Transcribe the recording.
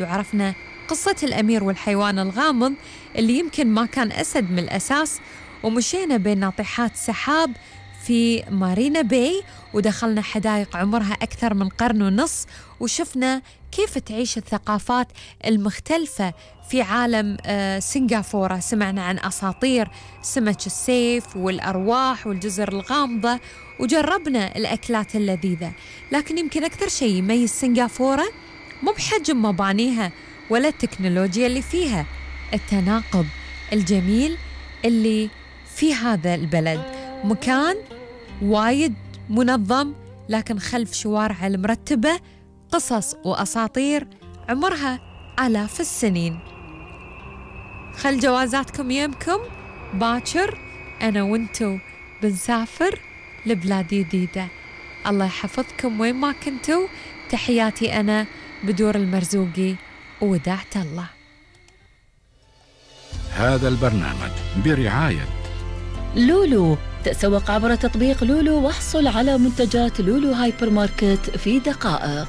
وعرفنا قصة الأمير والحيوان الغامض اللي يمكن ما كان أسد من الأساس، ومشينا بين ناطحات سحاب في مارينا باي، ودخلنا حدائق عمرها أكثر من قرن ونص، وشفنا كيف تعيش الثقافات المختلفة في عالم سنغافورة. سمعنا عن أساطير سمك السيف والأرواح والجزر الغامضة، وجربنا الأكلات اللذيذة. لكن يمكن أكثر شيء يميز سنغافورة مو بحجم مبانيها ولا التكنولوجيا اللي فيها، التناقض الجميل اللي في هذا البلد. مكان وايد منظم، لكن خلف شوارع المرتبة قصص وأساطير عمرها آلاف السنين. خل جوازاتكم يمكم باكر، أنا وانتو بنسافر لبلاد جديدة. الله يحفظكم وين ما كنتوا. تحياتي أنا بدور المرزوقي، ووداعت الله. هذا البرنامج برعاية لولو. تسوق عبر تطبيق لولو واحصل على منتجات لولو هايبر ماركت في دقائق.